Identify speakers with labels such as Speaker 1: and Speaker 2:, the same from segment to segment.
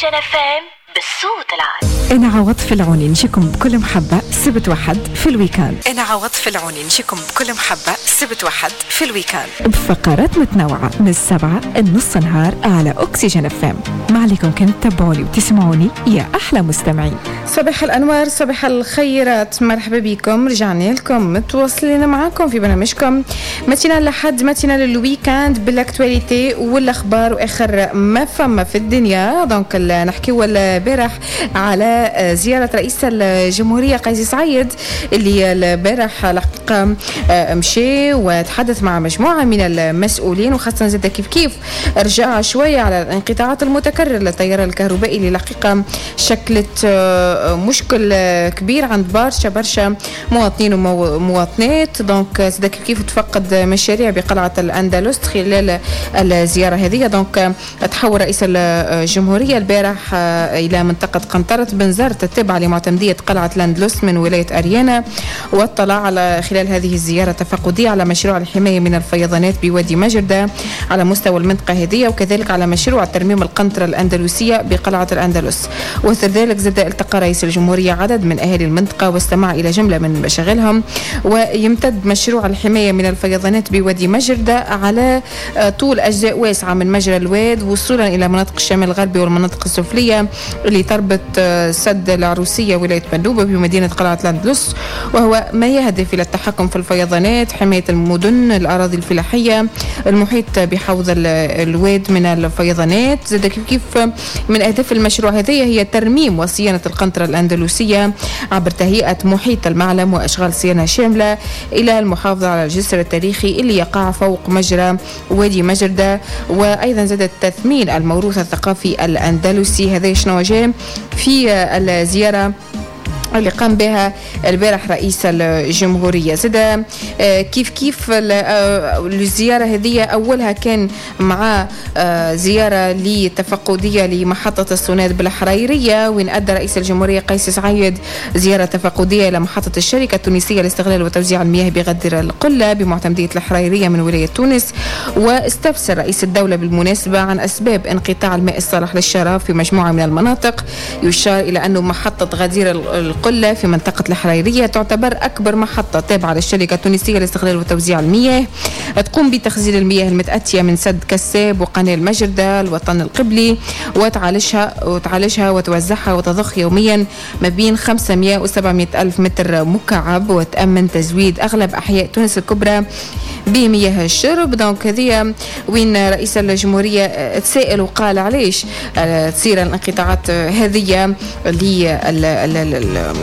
Speaker 1: اكسجين FM بالصوت العالي.
Speaker 2: انا عوض العوني نجيكم بكل محبة سبت وحد في ال week-end. انا عوض العوني نجيكم بكل محبة سبت وحد في ال week-end بفقرات متنوعة من 7 النص نهار على اكسجين FM. ما عليكم كان تتبعوني وتسمعوني يا احلى مستمعين.
Speaker 3: صباح الانوار، صباح الخيرات، مرحبا بكم، رجعنا لكم متواصلين معاكم في برنامجكم matinale لحد matinale ال week-end بال actualité والاخبار واخر ما فما في الدنيا. donc نحكيو البارح على زيارة رئيس الجمهورية قيس سعيد اللي البارح الحقيقة مشي وتحدث مع مجموعة من المسؤولين، وخاصة زاد كيف كيف رجع شوية على الانقطاعات المتكررة للتيار الكهربائي اللي الحقيقة شكلت مشكل كبير عند برشا برشا مواطنين ومواطنات. donc زاد كيف كيف تفقد مشاريع بقلعة الأندلس خلال الزيارة هذه. donc تحول رئيس الجمهورية البارح إلى منطقة قنطرة بنزرت التابعة لمعتمدية قلعة الأندلس من ولاية أريانا، واطلع على خلال هذه الزيارة التفقدية على مشروع الحماية من الفيضانات بوادي مجردة على مستوى المنطقة هذه، وكذلك على مشروع ترميم القنطرة الأندلسية بقلعة الأندلس. وثر ذلك زاد التقى رئيس الجمهورية عدد من أهالي المنطقة واستمع إلى جملة من مشاغلهم. ويمتد مشروع الحماية من الفيضانات بوادي مجردة على طول أجزاء واسعة من مجرى الواد وصولا إلى مناطق الشمال الغربي والمناطق السفلية اللي تربط سد العروسية ولاية مندوبة بمدينة قلعة الأندلس، وهو ما يهدف إلى التحكم في الفيضانات، حماية المدن، الأراضي الفلاحية، المحيط بحوض الواد من الفيضانات. زاد كيف كيف من أهداف المشروع هذه هي ترميم وصيانة القنطرة الأندلسية عبر تهيئة محيط المعلم وأشغال صيانة شاملة إلى المحافظة على الجسر التاريخي اللي يقع فوق مجرى وادي مجردة، وأيضا زاد تثمين الموروث الثقافي الأندلسي. هذا شنو جاء في الزيارة اللي قام بها البارح رئيس الجمهورية. زاد كيف كيف الزيارة هذه أولها كان مع زيارة لتفقدية لمحطة السوناد بالحريرية، وين أدى رئيس الجمهورية قيس سعيد زيارة تفقدية إلى محطة الشركة التونسية لاستغلال وتوزيع المياه بغدر القلة بمعتمدية الحريرية من ولاية تونس. واستفسر رئيس الدولة بالمناسبة عن أسباب انقطاع الماء الصالح للشراب في مجموعة من المناطق. يشار إلى أنه محطة غدير القلة في منطقة الحريرية تعتبر أكبر محطة تابعة للشركة التونسية لاستغلال وتوزيع المياه، تقوم بتخزين المياه المتأتية من سد كساب وقناة المجردة الوطن القبلي وتعالجها وتوزعها وتضخ يوميا ما بين 500 و 700 ألف متر مكعب، وتأمن تزويد أغلب أحياء تونس الكبرى بمياه الشرب. donc هذه وين رئيس الجمهورية تسائل وقال علاش تصير الانقطاعات هذه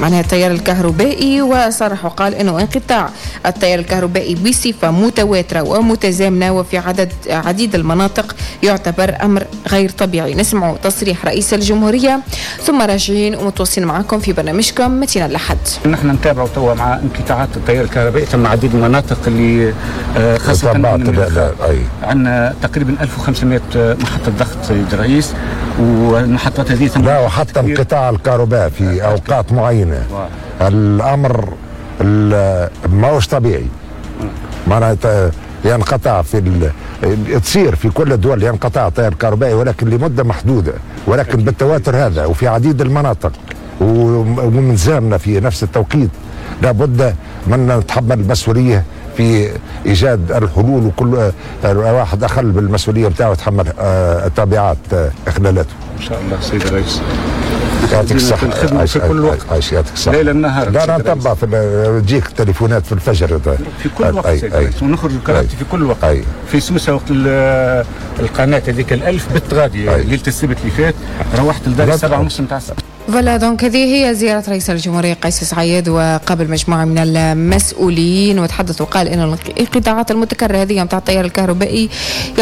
Speaker 3: معناها التيار الكهربائي، وصرح وقال انه انقطاع التيار الكهربائي بصفة متواترة ومتزامنة وفي عديد المناطق يعتبر امر غير طبيعي. نسمع تصريح رئيس الجمهورية ثم راجعين ومتواصلين معكم في برنامجكم matinale الأحد.
Speaker 4: نحن نتابع توا مع انقطاعات التيار الكهربائي ثم عديد المناطق اللي خاصة عندنا تقريبا 1500 محطة ضغط سيد الرئيس، والمحطات هذه
Speaker 5: لا وحتى انقطاع الكهرباء في اوقات معينة الامر ماهوش طبيعي. معناتها ينقطع في تصير في كل الدول ينقطع التيار الكهربائي ولكن لمدة محدودة، ولكن بالتواتر هذا وفي عديد المناطق ومن زامنا في نفس التوقيت لابد من نتحمل المسؤولية في ايجاد الحلول، وكل واحد اخل بالمسؤولية نتاعو يتحمل تبعات اخلالاته.
Speaker 4: ان شاء الله سيد الرئيس.
Speaker 5: يعطيك الصحة
Speaker 4: في كل وقت.
Speaker 5: يعطيك الصحة.
Speaker 4: ليل النهار.
Speaker 5: لا نتبع في تجيك تليفونات في الفجر
Speaker 4: في كل وقت سيد الرئيس، ونخرج الكرامتي في كل وقت. في سوسة وقت القناة هذيك الألف بت غادي ليلة السبت اللي فات روحت لداري 7:30 نتاع الصباح.
Speaker 3: voilà donc هذه هي زيارة رئيس الجمهورية قيس سعيد، وقابل مجموعة من المسؤولين وتحدث وقال إن الانقطاعات المتكررة هذه نتاع التيار الكهربائي